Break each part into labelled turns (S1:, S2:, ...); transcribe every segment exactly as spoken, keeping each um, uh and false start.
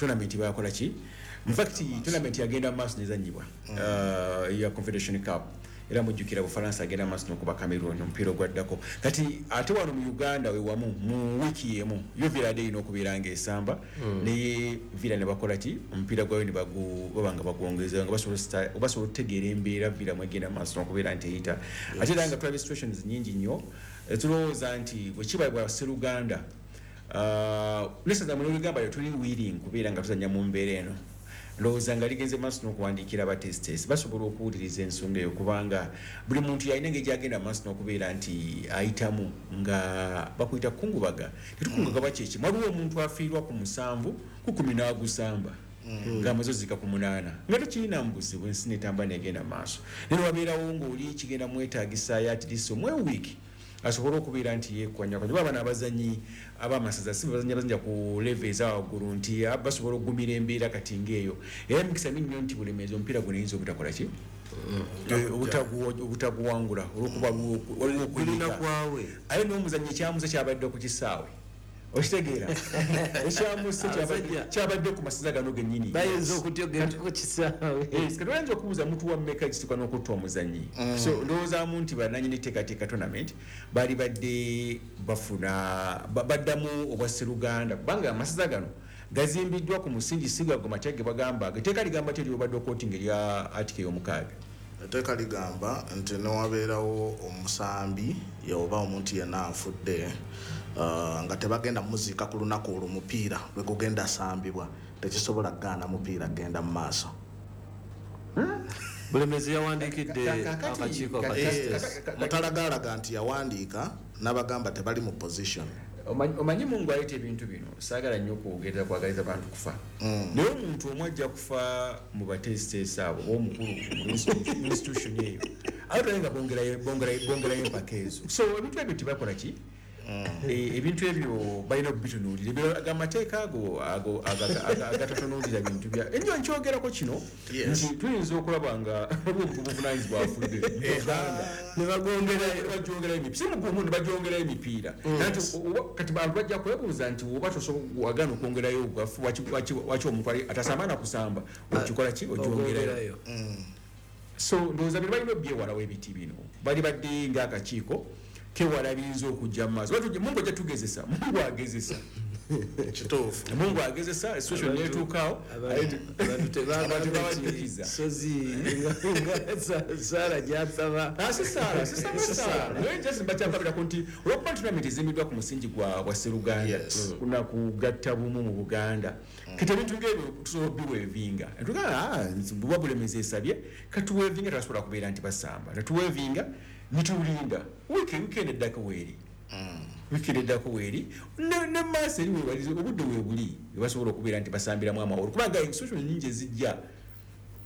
S1: Tournament bakola ki? In fact, tournament yagenda maaso nezanyibwa uh, ya Confederation Cup, era mujjukira Bufalansa agenda maaso nokuba Cameroon omupiira ogwaddako. Kati ate wano mu Uganda wewamu mu wiiki emu yo Villa erina okubeera nga esamba, naye Villa ne bakola ki? Omupiira gwayo ne baba nga bagwongeza, nga basobola okutegeera embeera Villa mwegenda maaso nokubeera nti eyita. Ate era nga tulaba situations nyingi nnyo, tulowooza nti bwe kiba bwa Sseruganda nesaza mu Lugamba tuli willing kubeera nga tuzanya mu mbeera eno. Ndowooza nga ligenze maaso n'okuwandiikira abatesitesi, basobola okuwuliriza ensonga eyo, kubanga buli muntu yalina engeri gyagenda maaso n'okubeera nti ayitamu nga bakuyita kukungubaga. Tetukungaga bakyeki, waliwo omuntu afiirwa ku musanvu ku kumi n'agusamba ng'amaze ozika ku munaana, nga tekirina mu buzibu, ensi netamba negenda maaso. Naye wabeerawo ng'oli kigenda mwetaagisaayo at least omwe wiiki asobole okubeera nti yekwanya. Kuba bano abazanyi abamasaza si bazanyi abazanya ku level eza waggulu nti basobola okugumira embeera kati ngaeyo. Era emikisa mingi nnyo nti Bulemeezi omupiira guno eyinza obutakola ki, obutaguwangula olwokuba waliwo
S2: okuyika.
S1: Aye n'omuzanyi ekyamuze kyabadde ku kisaawe, okitegeera, ekyamuse kyabadde ku masaza gano gennyini.
S2: Bayinza okutyogera ku kisaawe.
S1: Kati oyinza okubuuza mutu wa mmeka ekituuka n'okutta omuzanyi? So ndowoozaamu nti bananyini teekateeka tournament baali badde bafuna baddamu obwa Sseruganda, kubanga amasaza gano gazimbiddwa ku musingi sigago matya ge bagamba. Etteeka ligamba ti eryobadde okootinga erya article ey'omukaaga?
S3: Etteeka ligamba nti newabeerawo omusambi oba omuntu yenna afudde uh, nga tebagenda muziika ku lunaku olwo mupiira lwe gugenda sambibwa, tekisobola kugaana mupiira genda mu maaso.
S2: Bulemezi yawandiikidde akakiiko.
S3: Mutalagalaga nti yawandiika n'abagamba tebali mu position.
S1: Omanyi Mungu aleeta ebintu bino, saagala nnyo okwogerera kwagaliza bantu kufa, naye omuntu omu ajja kufa mu bateesiteesi abo oba omukulu mu institution eyo, ate tulabe nga bongerayo empaka ezo. So ebintu ebyo tebakola ki, ebintu ebyo balina okubitunuulira. Amateeka ago agatatunuulira bintu bya enyo. Nkyogerako kino nti tuyinza okulaba nga waliwo obuvunanyizibwa afudde nebajongerayo, si mugumu, nebajongerayo emipiira. Kati bantu bajja kwebuuza nti oba wagaana okwongerayo ogafu, waki omuntu atasamba nakusamba okikola ki, ojongerayo? So ndowooza bino balina obyewalawo. Ebiti bino bali badde ngaakakiiko kewala biyinza okujja mu maaso. Mungu ajja tugezesa, Mungu agezesa.
S3: Kituufu.
S1: Mungu agezesa, situation netuukaawo.
S2: Abantu tebagamba sozi saala gyasaba.
S1: Si saala, sisaala, naye just bakyankabirako nti olwokuba tournament ezimbiddwa ku musingi gwa bwa Sseruganda kuna kugatta bumu mu Buganda, kati ebintu ngaebyo tusobola obiwevinga. Tugamba buba Bulemezi esabye katuwevinga, tebasobola kubeera nti basamba, netuwevinga nitulinda wiiki, weekend eddako weeri, weekend eddako weeri ne maaso eri webali, obudde weebuli webasobola okubeera nti basambiramu amawolo, kubanga institution nyingi ezijja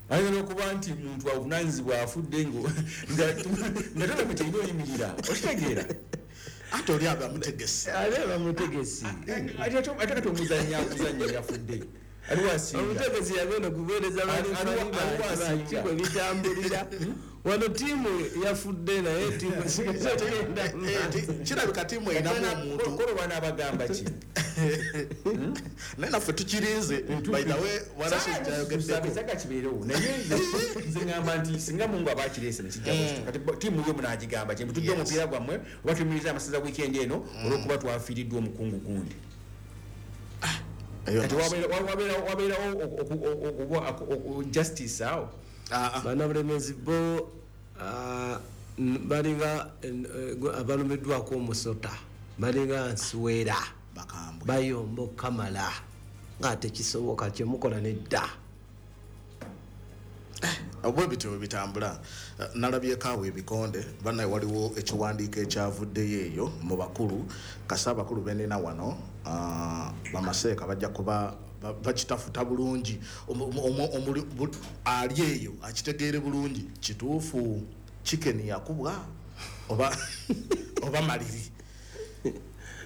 S1: ayinza n'okuba nti muntu avunanyizibwa afudde nga tournament erina oyimirira, okitegeera?
S3: Ate oli aba mutegesi.
S2: Ate bamutegesi.
S1: Ate kati omuzanyi akuzanya yafudde, aliwo asinga.
S2: Omutegesi yagenda okuweereza balifali bitambulira wano, tiimu yafudde naye tiimu sigenda.
S3: Kirabika tiimu erinamu omuntu.
S1: Kolo banaabagamba ki?
S3: Naye naffe tukirinze, by the way.
S1: Warashayogeddeko kibeerewo, naye nze ŋŋamba nti singa Mungu aba akireese nekijja, kati tiimu yo munagigamba ki? Mutudde omupiira gwammwe oba tuyimiriza amasaza weekend eno olwokuba twafiiriddwa omukungu gundi? Kati wabeerawo justice awo?
S2: Banabulemezi bo balinga abalumiddwako omusota, balinga nsiwera, bayomba okukamala nga tekisoboka kyemukola nedda.
S3: Bwe bityo bwe bitambula. Nalabyeko awo ebikonde bannaye, waliwo ekiwandiiko ekyavuddeyo eyo mu bakulu. Kasa abakulu benina wano bamaseeka bajja kuba bakitafuta bulungi, ali eyo akitegeere bulungi. Kituufu Chicken yakubwa oba oba maliri?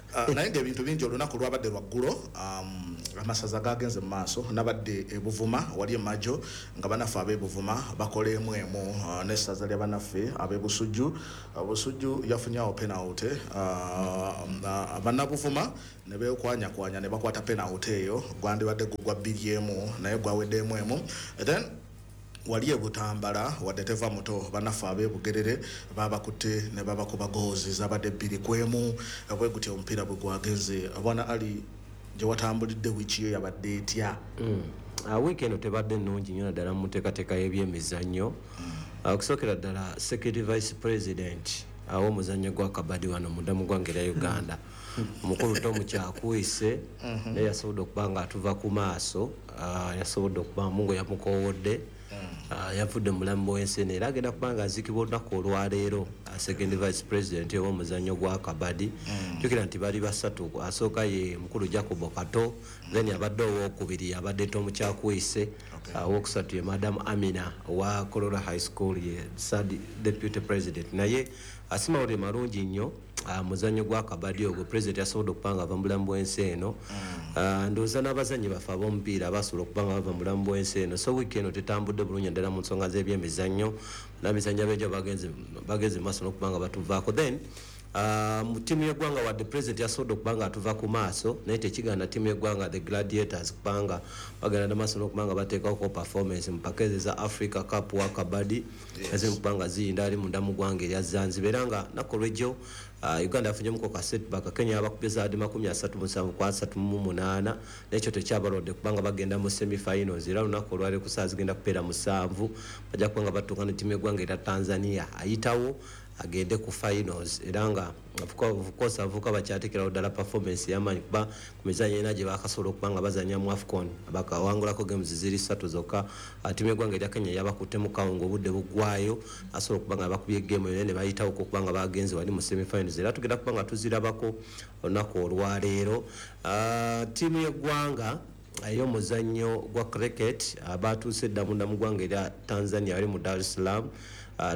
S3: Uh, naye ng'ebintu bingi olunaku lwabadde lwaggulo, um, amasaza gagenze mu maaso. Nabadde ebuvuma wali emajo nga bannaffe ab'ebuvuma bakola emu emu uh, n'essaza lya bannaffe ab'ebusujju. uh, busujju yafunyawo penalty, uh, uh, bannabuvuma ne beekwanyakwanya ne bakwata penalty eyo, gwandibadde gugwa bbiri emu naye gwawedde emu emu. Then wali ebutambala wadde teva muto, bannaffe ab'ebugerere babakutte ne babakuba goozi zabadde bbiri ku emu. Bwe gutyo omupiira bwe gwagenze. Bwana Ali, gye watambulidde wiiki yo yabadde etya?
S2: Mm. Uh, wiiki eno tebadde nnungi nnyo naddala mu nteekateeka y'ebyemizannyo. Uh, okusookera ddala secretary vice president aw'omuzannyo gwa kabadi wano munda mu ggwanga erya Uganda, omukulu Tom Kyakwise, naye yasobodde okuba nga atuva ku maaso. uh, yasobodde okuba Mungu yamukoowodde, uh, yavudde mu bulamu bw'ensi eno era agenda kuba nga aziikibwa olunaku olwaleero. uh, second vice president ow'omuzannyo gwa kabadi, jjukira nti bali basatu, asooka ye mukulu Jacobo Kato, then abadde owookubiri abadde Tom Kyakwise, owokusatu ye Madam Amina owa Kololo High School, ye third deputy president. Naye asimawulire malungi nnyo uh, muzannyo gwa kabadi ogwo president yasobodde okuba nga ava mu bulamu bw'ensi eno. uh, ndowooza n'abazannyi baffe ab'omupiira basobola okuba nga bava mu bulamu bw'ensi eno. So wiiki eno tetambudde bulungi ddala mu nsonga z'ebyemizannyo, n'abizannyo ab'enjawulo bagenze bagenze mu maaso n'okuba nga batuvaako. Then uh, mu ttiimu y'eggwanga, wadde president yasobodde okuba nga atuva ku maaso, naye tekigaana ttiimu y'eggwanga the Gladiators kubanga bagenda maaso n'okuba nga bateekako performance mu mpaka ezo za Africa Cup wa kabadi eziri mu kuba nga ziyinda ali munda mu ggwanga erya Zanzibar. Era nga nnaku olw'ejjo uh, Uganda yafunyemuko ka setback, Kenya yabakubye zaadi makumi asatu musanvu ku asatu mu munaana, n'ekyo tekyabalwadde kubanga bagenda mu semi-finals. Era olunaku olwaleero ku ssaawa zigenda kubeera musanvu bajja kuba nga batuuka ne ttiimu y'eggwanga erya Tanzania ayitawo agende ku finals. Era nga of course abavubuka bakyateekerawo ddala performance ey'amaanyi kuba ku mizannyo ena gye bakasobola okuba nga bazannya mu AFCON bakawangulako games ziri ssatu zokka. Ttiimu y'eggwanga erya Kenya yabakuttemu kawunga obudde buggwayo, asobola okuba nga bakubye game yonna ne bayitawoko okuba nga bagenze wali mu semi-finals, era tugenda kuba nga tuzirabako olunaku olwaleero. Ttiimu y'eggwanga ey'omuzannyo gwa cricket batuuse dda munda mu ggwanga erya Tanzania bali mu Dar es Salaam. Uh,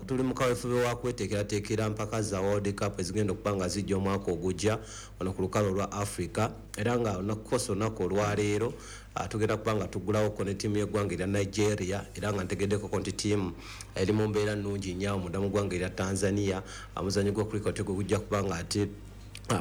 S2: tuli mu kaweefube wa kweteekerateekera mpaka za World Cup ezigenda okuba nga zijja omwaka ogujja wano ku lukalu olwa Africa. Era nga olunaku olunaku olwaleero uh, tugenda kuba nga tuggulawoko ne ttiimu y'eggwanga erya Nigeria. Era nga ntegeddekoko nti ttiimu eri mu mbeera nnungi nnyo awo munda mu ggwanga erya Tanzania. Omuzannyo gwa cricket gwe gujja kuba nga ate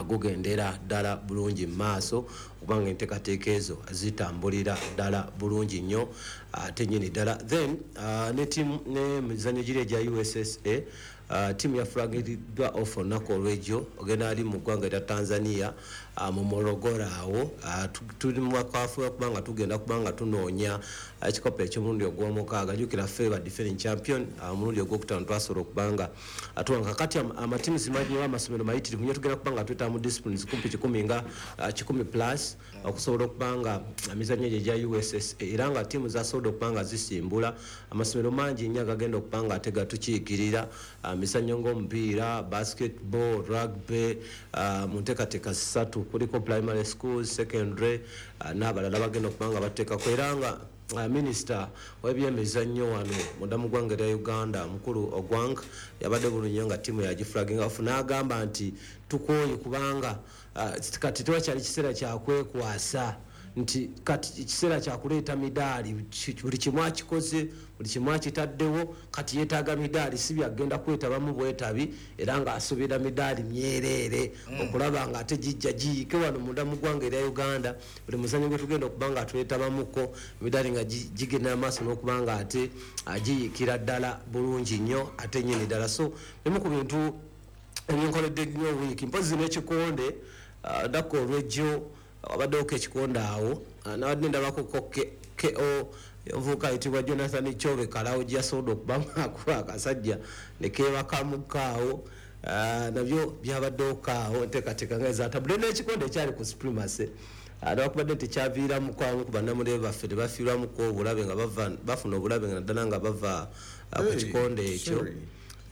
S2: gugendera ddala bulungi mu maaso kubanga enteekateeka ezo zitambulira ddala bulungi nnyo ate nnyini ddala. Then uh, ne ttiimu ne mizannyo giri egya U S S A, uh, ttiimu yafulagiriddwa off olunaku olw'ejjo ogenda ali mu ggwanga erya Tanzania uh, mu Morogoro awo. uh, tuli mu kaweefube kubanga tugenda kuba nga tunoonya ekikopo eky'omulundi ogw'omukaaga. Jjukira ffe ba defending champion omulundi uh, ogwokutaano twasobola okuba nga atuwanga. Kakati amatiimu zimanyi amasomero mayitirivu nnyo, tugenda kuba nga twetaaga mu disciplines kumpi kikumi nga uh, kikumi plus okusobola okuba nga emizannyo egyo egya U S S A. Era nga ttiimu zasobodde okuba nga zisimbula amasomero mangi nnyo agagenda okuba nga ate gatukiikirira mizannyo ng'omupiira, basketball, rugby, uh, mu nteekateeka ssatu kuliko primary schools, secondary uh, n'abalala bagenda okuba nga bateekako. Era nga uh, minisita w'ebyemizannyo wano munda mu ggwanga erya Uganda mukulu Ogwang yabadde bulungi nnyo nga ttiimu yagifulaginga off n'agamba nti tukooye kubanga uh, kati tewakyali kiseera kya kwekwasa, nti kati ekiseera kya kuleeta midaali, buli kimu akikoze, buli kimu akitaddewo, kati yeetaaga midaali, si byagenda kwetabamu bwetabi, era ng'asuubira midaali myereere okulaba nga ate gijja giyiike wano munda mu ggwanga erya Uganda. Buli muzannyo gwe tugenda okuba nga twetabamuko emidaali nga gigenda maaso n'okuba nga ate giyiikira ddala bulungi nnyo ate nnyini ddala. So bimu ku bintu ebinkoledde nnyo wiiki, mpozzi n'ekikonde ddako olw'ejjo abaddewoko ekikonde awo nabadde ndabako K O omuvubuka ayitibwa Jonathan Kyobe Kalawo gye yasobodde okuba ng'akuba akasajja ne keebakamuko awo, nabyo byabaddewoko awo enteekateeka nga ezatabudde n'ekikonde ekyali ku Supremacy newankubadde nti kyaviiramuko abamu ku bannamawulire baffe ne bafiirwamuko obulabe nga bafuna obulabe nga naddala nga bava ku kikonde ekyo.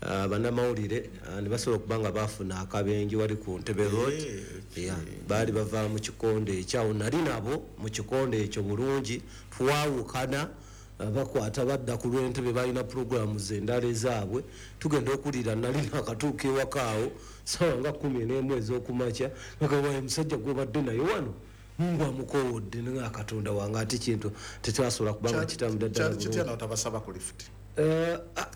S2: Bannamawulire ne basobola okuba nga bafuna akabenje wali ku Ntebe Road, baali bava mu kikonde ekyo. Awo nali nabo mu kikonde ekyo bulungi, twawukana Bakwata badda ku lw'Entebe, balina puroguramu zendala ezaabwe. Tugenda okulira nali nakatuuka ewakaawo sawa nga kumi n'emu ez'okumakya, bagamba omusajja gwobadde naye wano Mungu amukowodde, nga Katonda wange, ate kintu tetwasobola kubanga kitambula ddala.
S3: Kitya n'otabasaba ku lift?
S2: Eh, ah,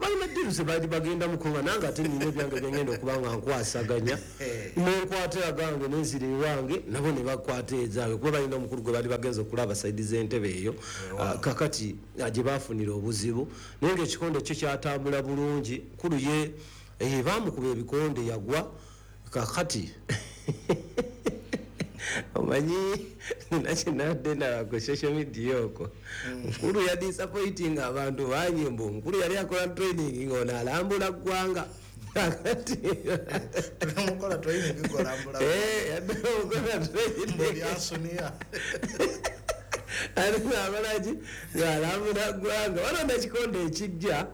S2: balina ddiru ze baali bagenda mukuba, nange ate nina ebyange byengenda okuba nga nkwasaganya, nenkwata agange nenzira ewange, nabo ne bakwata ezaabwe, kuba balina omukulu gwe baali bagenza okulaba saidi z'Entebe eyo. Ah, kakati ah, gye bafunira obuzibu, naye ngaekikonde kyo kyatambula bulungi. Kulu ye eh, bamukuba ebikonde yagwa. Kakati omanyi nina kyenadde ndaba ku social media okwo, Mukulu ya disappointing abantu bangi, mbu Mukulu yali akola training ng'ono alambula ggwanga. Kakati
S3: Mukola training ng'olambula.
S2: Eh, yadde mukola training.
S3: Byasuniya.
S2: Ali abalaki ng'alambula ggwanga. Waliwo n'ekikonde ekijja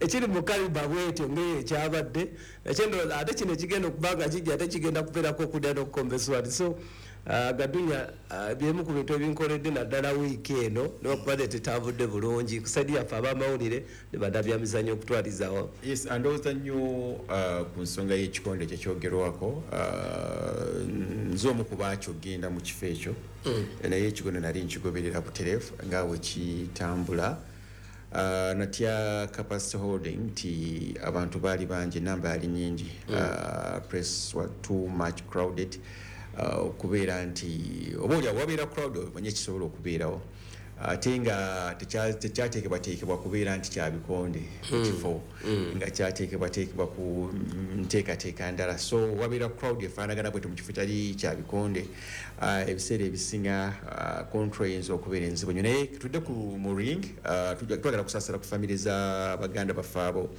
S2: ekiri mu kaliba bwetyo ng'eyo ekyabadde nakyo, ndowooza ate kino ekigenda okuba nga kijja ate kigenda kubeerako okudda n'okukomba eswali. So uh, Gadunya, uh, byemu ku bintu ebinkoledde naddala wiiki eno, newakubadde tetambudde bulungi ku side yaffe ab'amawulire ne bannabyamizannyo okutwalizawo.
S1: Yes, andowooza nnyo uh, ku nsonga y'ekikonde kyekyogerwako, uh, nze omu ku baakyo genda mu kifo ekyo, naye ekikonde nali nkigoberera butereevu nga bwe kitambula. Uh, natya capacity holding nti abantu baali bangi, namba yali nyingi, uh, press was too much crowded, uh, okubeera nti oba oli awo wabeera crowd omanye ekisobola okubeerawo, ate nga tekya- tekyateekebwateekebwa kubeera nti kyabikonde mu kifo, nga kyateekebwateekebwa ku nteekateeka ndala. So wabeera crowd efaanagana bwetyo mu kifo kyali kyabikonde, Ah, ebiseera ebisinga ah, control eyinza okubeera enzibu nnyo. Naye tudde ku mu ring, ah, tujja- twagala kusaasira ku famire za baganda baffe abo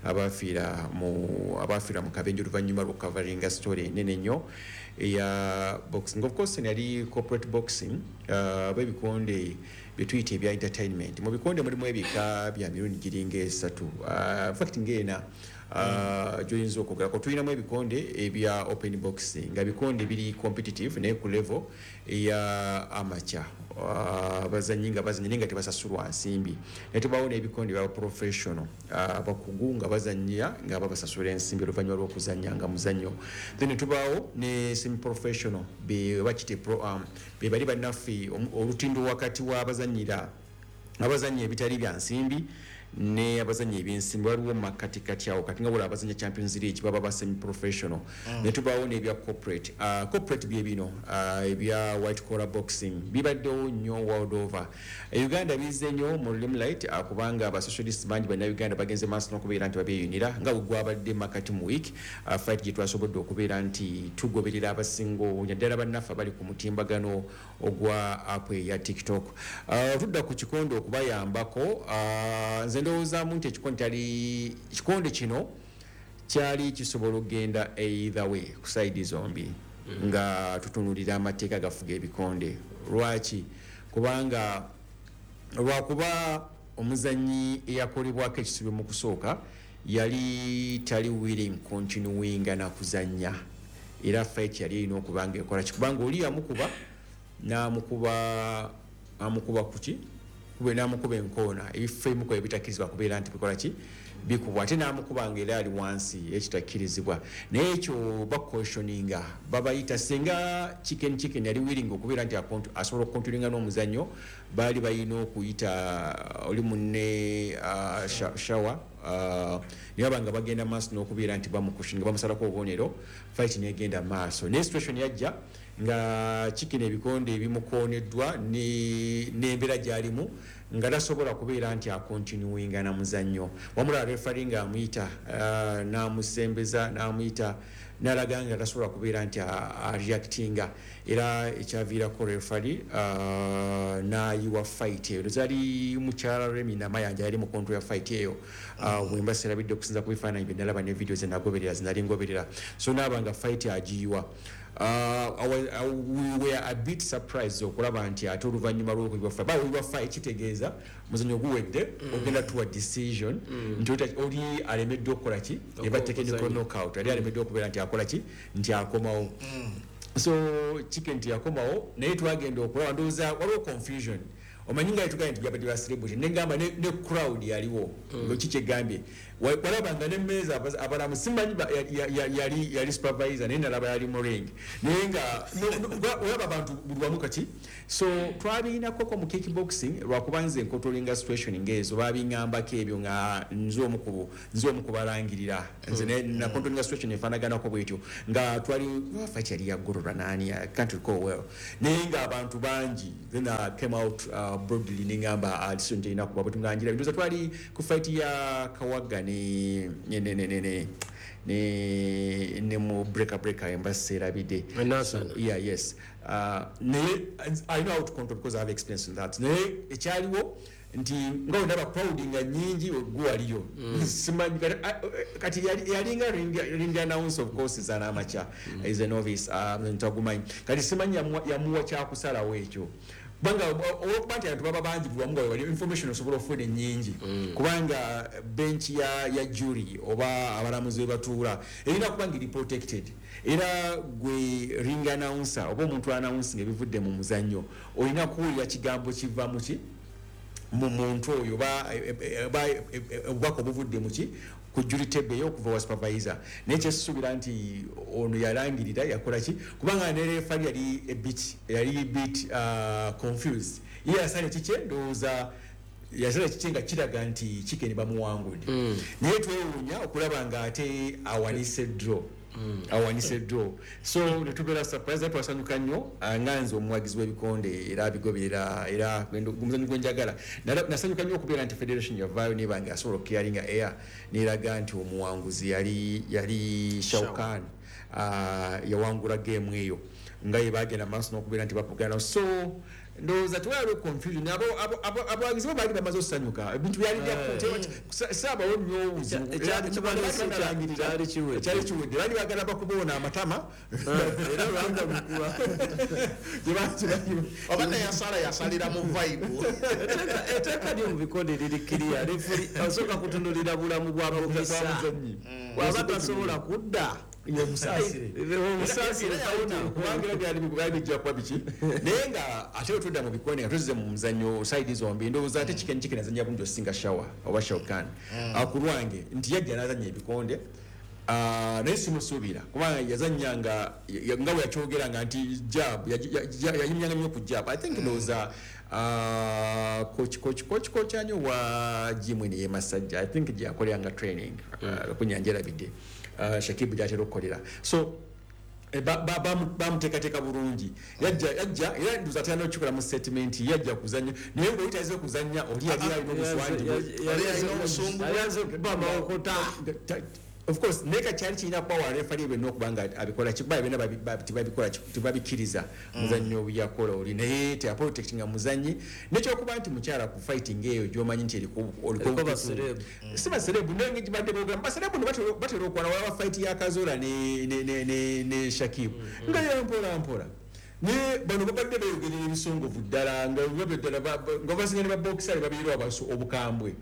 S1: abafiira mu abafiira mu kabenje oluvannyuma lw'okukavaringa story enene nnyo eya boxing. Of course yali corporate boxing, uh, oba ebikonde byetuyita ebya entertainment. Mu bikonde mulimu ebika bya mirundi giringa esatu, uh, in fact ng'ena uh, gyoyinza okwogerako. Tulinamu ebikonde ebya open boxing, nga bikonde biri competitive naye ku level eya amateur, abazanyi nga bazanya naye nga tebasasulwa nsimbi. Naye tubaawo n'ebikonde bya professional, abakugu nga bazanya nga babasasula ensimbi oluvannyuma lw'okuzanya nga muzannyo. Then tubaawo ne semi professional, be bakite pro um, be bali bannaffe olutindo wakati w'abazanyira abazanya ebitali bya nsimbi ne abazanya ebyensimbi, waliwo makatikati awo. Kati nga bula abazanya Champions League baba ba semi professional mm. Ne tubaawo n'ebya corporate. uh, corporate bye bino uh, ebya white collar boxing, bibaddewo nnyo world over. E Uganda bizze nnyo mu limelight uh, kubanga aba socialist bangi bannayuganda bagenze maaso n'okubeera nti babyeyunira, nga bwe gwabadde makati mu week, uh, fight gye twasobodde okubeera nti tugoberera abasinga obungi, naddala bannaffe abali ku mutimbagano ogwa app eya TikTok. uh, tudda ku kikonde okubayambako. uh, nze ndowoozaamu nti ekikonde kyali kikonde kino kyali kisobola okugenda either way ku side zombi, mm. nga tutunulira amateeka gafuga ebikonde. Lwaki? Kubanga lwakuba omuzanyi eyakolebwako ekisubi mu kusooka yali tali willing continuinga na kuzannya, era fight yali erina okuba nga ekola ki? Kubanga oli yamukuba n'amukuba, amukuba kuki? Kube n'amukuba enkoona, ebifo ebimu ebitakkirizibwa kubeera nti bikola ki? Bikubwa. Ate n'amukuba nga era ali wansi, ekitakkirizibwa. Naye ekyo bakotioninga, babayita senga Chicken Chicken yali willing okubeera nti asobola okukontinuinga n'omuzannyo, baali balina okuyita oli munne uh, Shawa, uh, naye baba nga bagenda maaso n'okubeera nti bamukushinga, bamusalako obubonero, fight negenda maaso. Naye situation yajja nga Chicken ebikonde ebimukoneddwa n'embeera gy'alimu nga tasobola kubeera nti akontinuinga na muzannyo. Wamulaba referee nga amuyita, uh, n'amusembeza, n'amuyita, n'alaga nga tasobola kubeera nti areactinga, era ekyaviirako referee uh, n'ayiwa fight eyo. Zaali mukyala Remi Namayanja yali mu control ya fight eyo, uh, bwemba serabidde okusinza ku bifaananyi bye nalaba ne video ze nagoberera zinali ngoberera. So naaba nga fight agiyiwa. Uh, uh, we were a bit surprised okulaba nti ate oluvannyuma lw'okuyiwa fight, bayiwa fight kitegeeza muzannyo guwedde, mm. ogenda tuwa decision mm. nti oli alemeddwa okukola ki? Eba technical knockout, ali alemeddwa okubeera nti akola ki? Nti akomawo. mm. So Chicken nti yakomawo, naye twagenda okulaba, ndowooza waliwo confusion. Omanyi nga yatugambye nti byabadde ba celebrity, negamba ne, ne crowd yaliwo mm. Ngo kikyegambye walabanga n'emmeeza abalamu simanyi yali yali supervisor naye nalaba yali mu ring naye nga olaba abantu buli wamu kati. So twabiinakoko mu kickboxing lwakuba nze nkotolinga situation ng'ezo babiŋŋambako ebyo nga nze omu ku nze omu kubalangirira nze mm. na controlling situation efaanaganako bwetyo nga twali fight yali ya Gorora nani, I can't recall well, naye nga abantu bangi. Then I came out uh, broadly nengamba decision terina kuba bwe tunganjira ndowooza twali ku fight ya Kawaga ne ne ne ne ne ne ne mu breaker breaker embassy erabidde.
S2: So,
S1: yeah, yes, uh, naye I know how to control because I have experience in that. Naye ekyaliwo nti nga ondaba crowd nga nnyingi gwe waliyo simanyi kati yalinga ring announce, of course is an amateur, mm. is a novice, ntagumanyi kati simanyi yamuwa kyakusalawo ekyo kubanga olwokuba nti abantu baba bangi buli wamu nga wali information osobola okufuna ennyingi kubanga bench ya, ya jury oba abalamuzi we batuula erina kuba nga eri protected. Era gwe ring announcer oba omuntu announcing ebivudde mu muzannyo olina kuwulira kigambo kiva mu ki mu muntu oyo oba obubaka obuvudde mu ki ku jury table eyo okuva wa supervisor. Naye kyesuubira nti ono yalangirira yakola ki kubanga ne referee yali a bit yali a bit uh, confused. Ye yasala kikye ndowooza yasala kikye nga kiraga nti Chicken bamuwangudde mm. Naye twewuunya okulaba nga ate awanise draw Mm. awanise draw. So netubeera surprise, twasanyuka nnyo nga nze omuwagizi w'ebikonde era abigoberera era omuzannyo gwe njagala. Nasanyuka nnyo okubeera nti federation yavaayo neba nga asobola okuclearinga air n'eraga nti omuwanguzi yali yali Shaukan uh, yawangula game eyo nga ye bagenda maaso n'okubeera nti bapogana. So ndowooza tewaliwo confusion, abawagizi bo baali bamaze okusanyuka ebintu byali saabawo nnyo obuzibu kyali kiwedde baali bagala bakuboona amatama
S2: era lwanga lukuba
S3: oba neyasala yasalira mu vibe.
S2: Etteeka lyo mu bikonde liri clear, referee asooka kutunulira bulamu bwa bokisa bw'aba tasobola kudda
S1: omusaasire kubanga byali byali bijja kuba biki. Naye nga ate otudda mu bikonde nga tuzze mu muzannyo side zombi ndowooza ate Chicken Chicken azannya bulungi osinga Shawa oba Shaukan ku lwange nti yajja n'azannya ebikonde naye simusuubira kubanga yazannya nga nga bwe yakyogeranga nti jab yayimyanga nnyo ku jab. I think ndowooza coach coach coach coach anyo wa gym eno y'e Masajja I think gye yakoleranga training ku nyanja erabidde Shakibu gy'atera okukolera. So bamuteekateeka bulungi yajja yajja era ndowooza atera n'okukikola mu statement yajja kuzannya naye ng'oli tayinza okuzannya oli yali alina obuswangi Of course naye kyali kirina kuba wa referee byonna okuba nga abikola kikuba byonna tebabikola tebabikkiriza muzannyo yakola oli naye teyaprotectinga muzannyi nekyokuba nti mukyala ku fighting eyo gy'omanyi nti
S2: eriko baserebu
S1: si baserebu naye ngibadde boogera baserebu no batera okwana walaba fight ya Kazola ne ne ne ne Shakibu nga ya mpola mpola ne bano babadde beeyogerera ebisongovu ddala nga ddala nga basinga ne baboxer babeera abaso obukambwe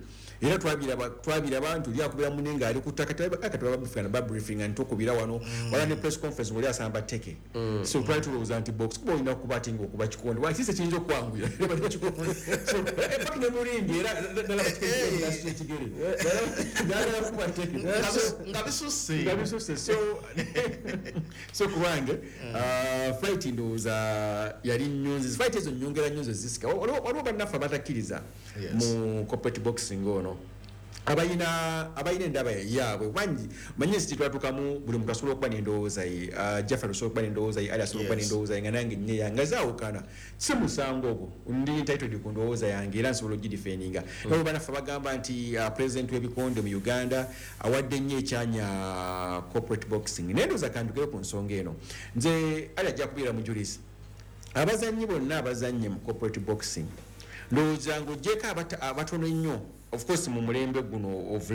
S1: era twabiraba twabiraba nti oli akubira munne ng'ali ku ttaka kati babafuna babriefing nti okubira wano wala ne press conference ng'oli asamba tteke. So twali tulowooza nti box kuba olina okuba ati ng'okuba kikonde wakise kiyinza okwanguya so in fact ne mulindi era nalaba ekigere nalaba kuba tteke
S3: nga bisusse
S1: nga bisusse. So so kubange fight ndowooza yali nnyonzi fight ezo nnyongera nnyonzi zisika waliwo bannaffe abatakkiriza mu corporate boxing ono abayina abayina endaba yaabwe bangi manye nsi twatuukamu buli muntu asobola okuba n'endowooza ye. Jafar osobola okuba n'endowooza ye, Ali asobola okuba n'endowooza ye nga nange nnye nga zaawukana si musango ogwo ndi entitled ku ndowooza yange era nsobola okugidefendinga. Nabo bannaffe bagamba nti president w'ebikonde mu Uganda awadde nnyo ekyanya corporate boxing naye ndowooza kandukeyo ku nsonga eno nze Ali ajja kubeera mujulizi abazannyi bonna abazannye mu corporate boxing ndowooza ng'oggyeko abatono ennyo of course mu mulembe guno of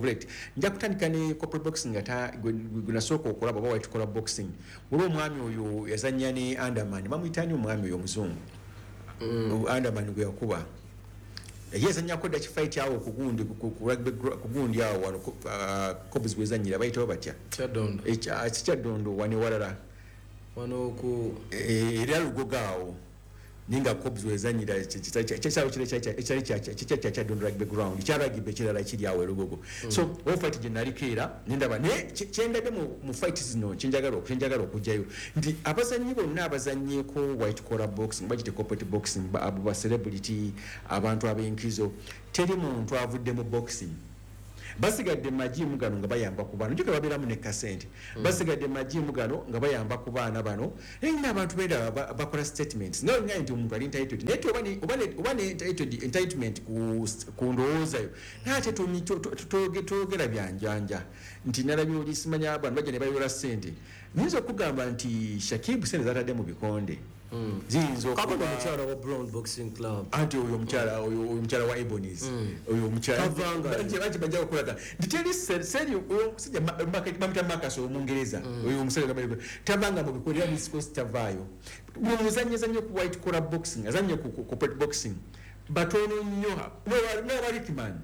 S1: late nja kutandika ne corporate boxing ata gwe nasooka okulaba oba white collar boxing waliwo omwami oyo yazannya ne Anderman bamuyita ani omwami oyo omuzungu Anderman gwe yakuba ye yazannyako dda kifight awo kugundi kugundi awo wano Cobs gwezannyira bayitawo batya Kyaddondo wano ewalala
S2: wano ku
S1: era Lugogo awo Ninga Cobs wezanyira ekisaawe kiri ekyali kya Kyadondo Rugby Ground, kya rugby ekirala ekiri awo e Lugogo. So wo fight gye naliko era nendaba, naye kyendabye mu fight zino, kyenjagala kyenjagala okugjayo nti abazannyi bonna abazannyeko white collar boxing, bagite corporate boxing, abo ba celebrity, abantu ab'enkizo, teri muntu avudde mu boxing. Basigadde majimu gano nga bayamba ku baana, njuka babeeramu ne kasente, basigadde majimu gano nga bayamba ku baana bano. Naye n'abantu benda bakola statements naye nga nti omuntu ali entitled, naye oba ne oba ne entitled entitlement ku ku ndowooza yo, naye ate toyogera byanjanja nti nalabye oli simanya abantu bajja ne bayola ssente. Nyinza okugamba nti Shakib ssente zatadde mu bikonde ziyinza
S2: okuba omukyala wa Brown Boxing Club,
S1: anti oyo omukyala oyo omukyala wa Ebonies, oyo omukyala bangi bajja okulaga nti teri seri oyo omusajja bamuyita Marcus Omungereza, oyo omusajja tavanga mu bikonde era East Coast tavaayo. Buli muzannyi azannye ku white collar boxing, azannye ku corporate boxing, batono nnyo n'owa Rickman.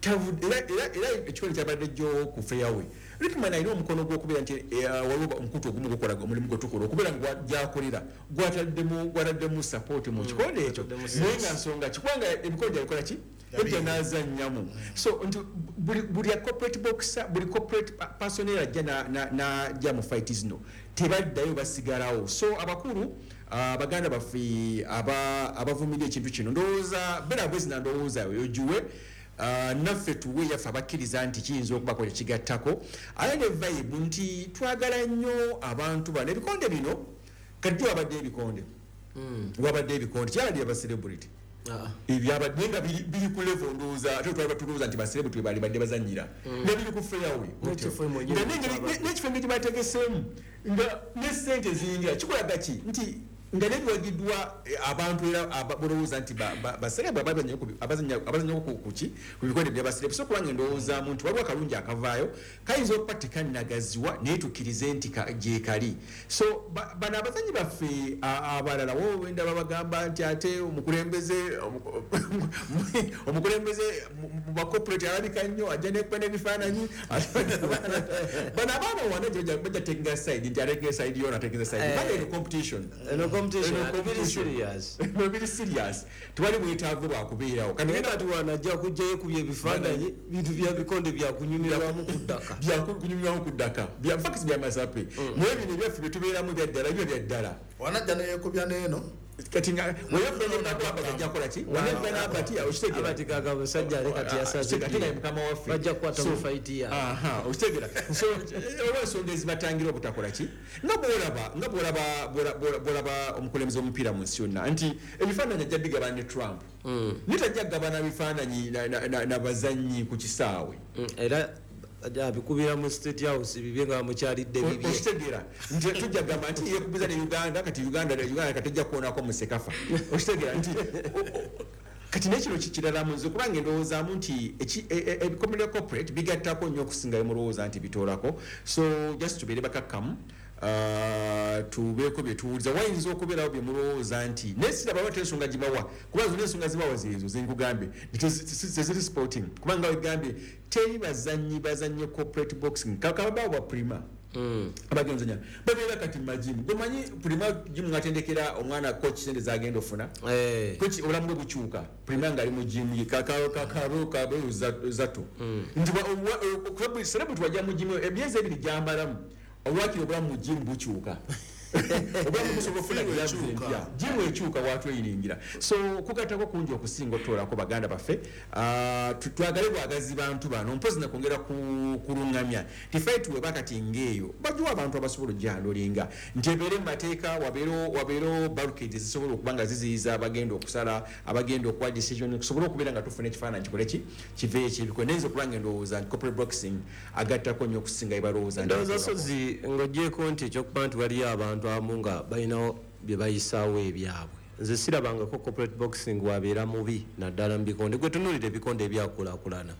S1: Era era ekikonde kyabadde jjo ku fairway. Rickman alina omukono gw'okubeera nti waliwo omukutu ogumu gukola omulimu gwe tukola okubeera nga gyakolera gwataddemu gwataddemu support mu kikonde ekyo, naye nga nsonga ki kubanga ebikonde yabikola ki ebyo n'azannyamu. So nti buli buli corporate boxer, buli corporate personnel ajja n'ajja mu fight zino tebaddayo, basigalawo. So abakulu baganda baffe abavumirira ekintu kino, ndowooza beera bwezi na ndowooza ogiwe naffe tuwe yaffe abakkiriza nti kiyinza okubako kyekigattako, ate ne vibe nti twagala nnyo abantu bano. Ebikonde bino kati wabadde ebikonde wabadde ebikonde kyabadde aba celebrity ebyabadde nga biri ku level, ndowooza ate twali batulowooza nti ba celebrity bali badde bazannyira ne biri ku fairway n'ekifo engeri bategeseemu nga ne ssente ziyingira kikulaga ki nti nga nebiwagiddwa abantu era balowooza nti baserebu abazannyako kuki ku bikonde bya baserebu. So kubanga endowoozaamu nti waliwo akalungi akavaayo kayinza okuba tekannagaziwa naye tukkirize nti gyekali. So bano abazannyi baffe abalala wenda babagamba nti ate omukulembeze omukulembeze mu bacorporate alabika nnyo ajja nekuba n'ebifaananyi. Bano abaana wana bajja takinga side nti atekinga side yona atekinga side bano eno competition eno
S2: serious
S1: biri serious, tewali bwetaavu bwakubeerawo.
S2: Kati wanajja kujjayo ekubya ebifaananyi bintu bya bikonde byakunyumirwamu ku ddaka
S1: byakunyumirwamu ku ddaka bya fakisi bya masape, naye bino ebyaffe bye tubeeramu bya ddala byo bya ddala.
S3: Wanajja neyekubya n'eno
S1: kati nga weyokuba kola ki wanajja n'abati okitegeera
S2: abati gaga musajja ale kati yasaze
S1: kati naye mukama waffe
S2: bajja kukwata mu fight ya
S1: aha okitegeera. So olw'ensonga ezibatangira obutakola ki nga bw'olaba nga bw'olaba bw'olaba omukulembeze w'omupiira mu nsi yonna nti ebifaananyi ajja bigabana ne Trump, naye tajja kugabana bifaananyi n'abazannyi ku kisaawe
S2: era abikubira mu State House bibye nga mukyalidde bibye.
S1: Okitegeera nti tujja kugamba nti yeekubiza ne Uganda kati Uganda Uganda kati ejja kuwoonako mu Sekafa. Okitegeera nti kati n'ekino kikirala mu nze kubanga endowoozaamu nti ebikomere corporate bigattako nnyo okusinga bye nti bitoolako. So just tubeere bakakkamu, tubeeko bye tuwuliza. Wayinza okubeerawo bye mulowooza nti naye siraba wate ensonga gibawa kuba zonna ensonga zibawa zeezo ze nkugambye teziri sporting, kubanga wegambye teri bazannyi bazannye corporate boxing kakabaawo ba prima abagenzanya babeera kati majimu gomanyi prima jimu ngatendekera omwana coach sente zagenda ofuna coach obulamu bwe bukyuka prima ng'ali mu jimu kakaro kabe zato nti celebrity wajja mu jimu emyezi ebiri gyambalamu olwakiri obulamu mu jimu bukyuka obulamu busobola okufuna gloves empya, jimu ekyuka watweyiringira. So kugattako kungi okusinga otutoolako baganda baffe, twagale bwagazi bantu bano mpozi nakwongera kulungamya nti fight weba kati ng'eyo bagiwa abantu abasobola okugihandolinga nti ebeere mu mateeka, wabeerewo barricades zisobola okuba nga ziziyiza abagenda okusala, abagenda okuwa decision, kusobole okubeera nga tufuna ekifaananyi kikole ki kiveeyo ekyebikole. Naye nze okuba nga endowooza nti corporate boxing agattako nnyo okusinga ebalowooza.
S2: Ndowooza sozi ng'ogyeko nti ekyokuba nti waliyo abantu abamu nga balina bye bayisaawo ebyabwe, nze sirabangako corporate boxing wabeera mubi naddala mu bikonde. Gwe tunuulira ebikonde ebyakulaakulana,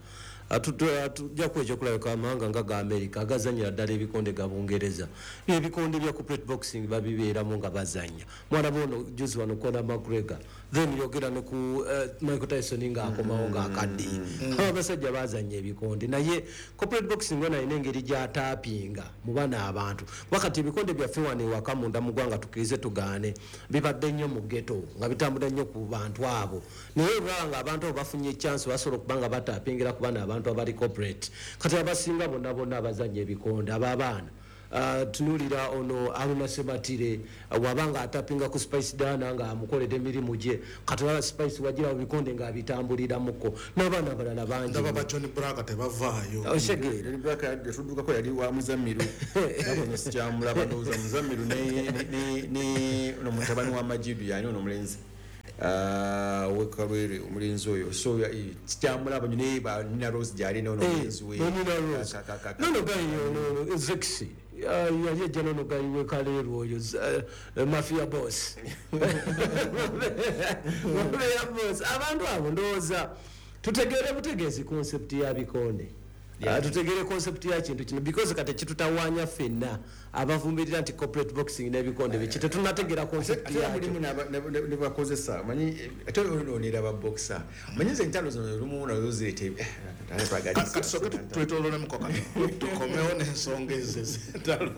S2: Tujja kuwa ekyokulabika amawanga nga ga America agazannyira ddala ebikonde ga Bungereza, ebikonde bya corporate boxing babibeeramu nga bazannya. Mwalaba ono juzi wano Conor McGregor, then yogera ne ku uh, Michael Tyson ng'akomawo ng'akaddiye. Abo abasajja bazannya ebikonde, naye corporate boxing ono alina engeri gy'ataapinga mu bano abantu. Wakati ebikonde byaffe wano ewaka munda mu ggwanga, tukkirize tugaane, bibadde nnyo mu ghetto nga bitambula nnyo ku bantu abo, naye olwaba nga abantu abo bafunye chance basobola okuba nga bataapingira ku bano abantu abali corporate. Kati abasinga bonna bonna abazannya ebikonde ab'abaana, Uh, tunuulira ono Aruna Sematire, uh, wabanga atapinga ku Spice Diana nga amukoledde emirimu gye. Kati olaba Spice wagira ebikonde ng'abitambuliramuko n'abaana abalala bangi.
S3: Ndaba ba John Blaq tebavaayo.
S2: Osegeera.
S1: John Blaq yatuddukako, yali wa Muzamiru, nabo sikyamulaba, ndowooza Muzamiru ne ne ne ono mutabani wa Majidu, yani ono omulenzi wekalwere, omulenzi oyo, so sikyamulaba nyo, naye ba Nina Rose gyali nono omulenzi we.
S2: Nina Rose nono gayi ono Zexi yali ejja nono gayi wekaleerwa oyo Mafia Boss, Mafia Boss. Abantu abo ndowooza tutegeere butegeezi concept ya bikonde, tutegere concept ya kintu kino, because kati kitutawaanya ffenna abavumirira nti corporate boxing n'ebikonde biki, tetunategeera concept
S1: yakyo.
S2: Mulimu
S1: ne bakozesa, manyi ate ononera ba boxer, manyi nze entalo zino lumu nazo zireeta.
S3: Kati tusooke twetoololemuko kano, tukomewo n'ensonga ezo ez'entalo.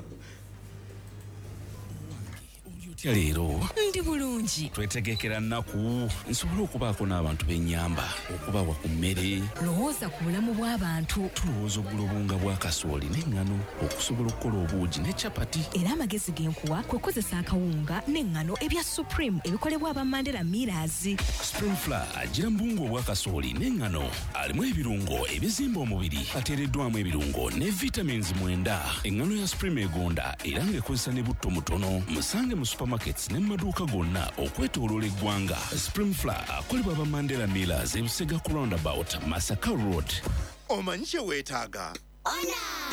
S4: Otya leero?
S5: Ndi bulungi.
S4: Twetegekera nnaku nsobole okubaako n'abantu b'ennyamba, okubawa ku mmere.
S5: Lowooza ku bulamu bw'abantu.
S4: Tulowooza ogula obuwunga bwa kasooli n'eŋŋano okusobola okukola obuugi ne capati.
S5: Era amagezi ge nkuwa kwe kukozesa akawunga n'eŋŋano ebya Supreme ebikolebwa aba Mandela Millers.
S4: Supreme Flour agira mu buwunga obwa kasooli n'eŋŋano, alimu ebirungo ebizimba omubiri, ateereddwamu ebirungo ne vitamins mwenda. Eŋŋano ya Supreme egonda era ng'ekozesa ne butto mutono. Musange mu supermarkets ne mu maduuka gonna okwetooloola eggwanga. Supreme Flour akolebwa aba Mandela Millers, Ebusega ku roundabout, Masaka Road.
S6: Omanyi kye weetaaga?